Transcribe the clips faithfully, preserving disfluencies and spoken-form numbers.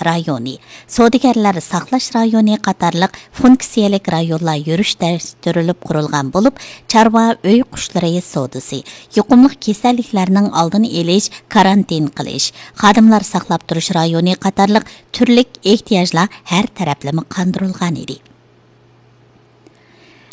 رايونى، سودىگەرلەر ساقلاش رايونى قاتارلىق فۇنكسىيەلىك رايونلار يۈرۈشلەشتۈرۈلۈپ قۇرۇلغان بولۇپ، چارۋا ئۆي قۇشلىرى سودىسى، يۇقۇملۇق كېسەللىكلەرنىڭ ئالدىنى ئېلىش، كارانتىن قىلىش، خادىملار ساقلاپ تۇرۇش رايونى قاتارلىق تۈرلۈك ئېھتىياجلار ھەر تەرەپلىمە قاندۇرۇلغان ئىدى.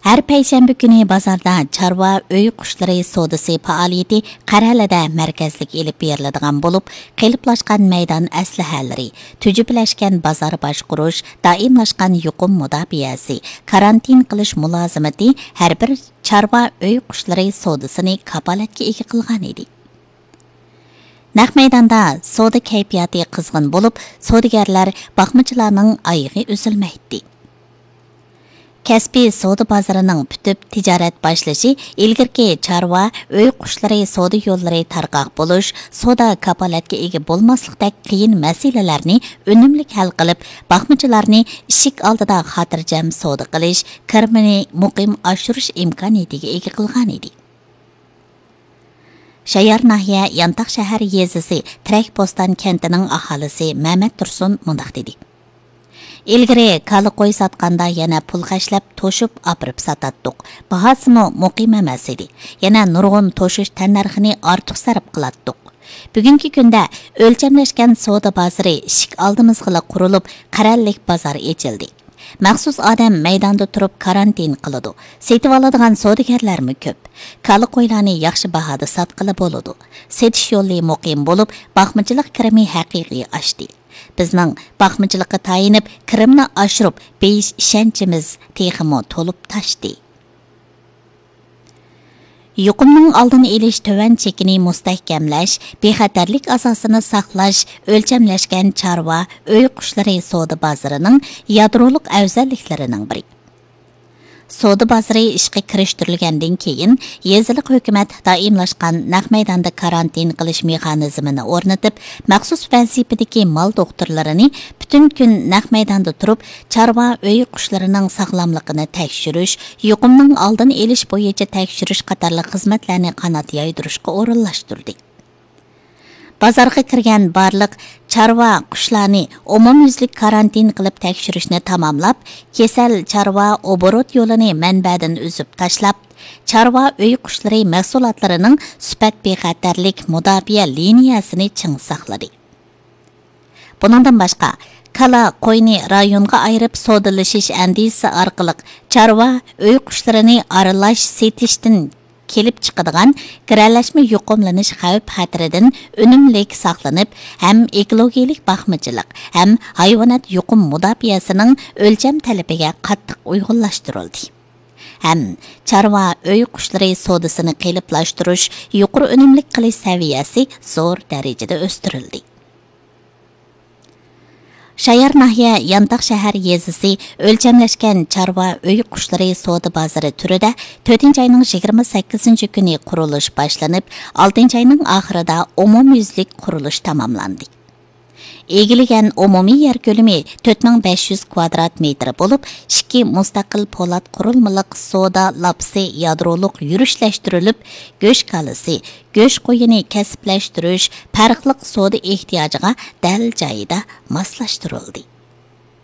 ھەر پەيشەنبە كۈنى بازاردا چارۋا ئۆي قۇشلىرى سودىسى پائالىيىتى قەرەلىدە مەركەزلىك ئېلىپ بېرىلىدىغان بولۇپ، قېلىپلاشقان مەيدان ئەسلىھەلىرى، تۈجۈپىلەشكەن بازار باشقۇرۇش، دائىملاشقان يۇقۇم مۇداپىئەسى، كارانتىن قىلىش مۇلازىمىتى ھەر بىر چارۋا ئۆي قۇشلىرى سودىسىنى كاپالەتكە ئىگە قىلغان ئىدى. نەق مەيداندا سودا كەيپىياتى قىزغىن بولۇپ، سودىگەرلەر، باقمىچىلارنىڭ ئايىغى ئۈزۈلمەيتتى. كەسپىي سودا بازىرىنىڭ پۈتۈپ تىجارەت باشلىشى ئىلگىرىكى چارۋا، ئۆي قۇشلىرى سودا يوللىرى تارقاق بولۇش، سودا كاپالەتكە ئىگە بولماسلىقتەك قىيىن مەسىلىلەرنى ئۈنۈملۈك ھەل قىلىپ، باقمىچىلارنى ئىشىك ئالدىدا خاتىرجەم سودا قىلىش، كىرىمىنى مۇقىم ئاشۇرۇش ئىمكانىيىتىگە ئىگە قىلغان ئىدى. شايار ناھىيە يانتاق شەھەر يېزىسى تىرەكبوستان كەنتىنىڭ ئاھالىسى مەمەت تۇرسۇن مۇنداق دېدى: ئىلگىرى كالا قوي ساتقاندا يەنە پۇل خەجلەپ توشۇپ ئاپىرىپ ساتاتتۇق، باھاسىمۇ مۇقىم ئەمەس ئىدى، يەنە نۇرغۇن توشۇش تەننەرخىنى ئارتۇق سەرپ قىلاتتۇق. بۈگۈنكى كۈندە ئۆلچەملەشكەن سودا بازىرى ئىشىك ئالدىمىزغىلا قۇرۇلۇپ، قەرەللىك بازار ئېچىلدى. مەخسۇس ئادەم مەيداندا تۇرۇپ كارانتىن قىلىدۇ. سېتىۋالىدىغان سودىگەرلەرمۇ كۆپ. كالا قويلارنى ياخشى باھادا ساتقىلى بولىدۇ. سېتىش يولى مۇقىم بولۇپ، باقمىچىلىق كىرىمى ھەقىقىي ئاشتى. بىزنىڭ باقمىچىلىققا تايىنىپ، كىرىمنى ئاشۇرۇپ بېيىش ئىشەنچىمىز تېخىمۇ تولۇپ تاشتى. يۇقۇمنىڭ ئالدىنى ئېلىش تۆۋەن چېكىنى مۇستەھكەملەش، بىخەتەرلىك ئاساسىنى ساقلاش، ئۆلچەملەشكەن چارۋا، ئۆي قۇشلىرى سودا بازىرىنىڭ يادرولۇق ئەۋزەللىكلىرىنىڭ بىرى. سودا بازىرى ئىشقا كىرىشتۈرۈلگەندىن كېيىن، يېزىلىق ھۆكۈمەت دائىملاشقان نەق مەيداندا كارانتىن قىلىش مېخانىزمىنى ئورنىتىپ، مەخسۇس ۋەزىپىدىكى مال دوختۇرلىرىنى پۈتۈن كۈن نەق مەيداندا تۇرۇپ، چارۋا ئۆي قۇشلىرىنىڭ ساغلاملىقىنى تەكشۈرۈش، يۇقۇمنىڭ ئالدىنى ئېلىش بويىچە تەكشۈرۈش قاتارلىق خىزمەتلەرنى قانات يايدۇرۇشقا ئورۇنلاشتۇردى. بازارغا كىرگەن بارلىق چارۋا قۇشلارنى ئومۇميۈزلۈك كارانتىن قىلىپ تەكشۈرۈشنى تاماملاپ، كېسەل چارۋا ئوبوروت يولىنى مەنبەدىن ئۈزۈپ تاشلاپ، چارۋا ئۆي قۇشلىرى مەھسۇلاتلىرىنىڭ سۈپەت بىخەتەرلىك مۇداپىئە لىنىيەسىنى چىڭ ساقلىدى. بۇنىڭدىن باشقا، كالا، قوينى رايونغا ئايرىپ سودىلىشىش ئەندىزىسى ئارقىلىق چارۋا ئۆي قۇشلىرىنى ئارىلاش سېتىشتىن كېلىپ چىقىدىغان گىرەلەشمە يۇقۇملىنىش خەۋپ خەتىرىدىن ئۈنۈملۈك ساقلىنىپ، ھەم ئېكولوگىيەلىك باقمىچىلىق، ھەم ھايۋانات يۇقۇم مۇداپىئەسىنىڭ ئۆلچەم تەلىپىگە قاتتىق ئۇيغۇنلاشتۇرۇلدى. ھەم چارۋا ئۆي قۇشلىرى سودىسىنى قېلىپلاشتۇرۇش، يۇقىرى ئۈنۈملۈك قىلىش سەۋىيەسى زور دەرىجىدە ئۆستۈرۈلدى. شايار ناھىيە يانتاق شەھەر يېزىسى ئۆلچەملەشكەن چارۋا ئۆي قۇشلىرى سودا بازىرى تۈرىدە تۆتىنچى ئاينىڭ يىگىرمە سەككىزىنچى كۈنى قۇرۇلۇش باشلىنىپ، ئالتىنچى ئاينىڭ ئاخىرىدا ئومۇميۈزلۈك قۇرۇلۇش تاماملاندى. ئىگىلىگەن ئومۇمىي يەر كۆلىمى تۆت مىڭ بەش يۈز كۋادرات مېتىر بولۇپ، ئىككى مۇستەقىل پولات قۇرۇلمىلىق سودا لاپىسى يادرولۇق يۈرۈشلەشتۈرۈلۈپ، گۆش كالىسى، گۆش قويىنى كەسىپلەشتۈرۈش پەرقلىق سودا ئېھتىياجىغا دەل جايىدا ماسلاشتۇرۇلدى.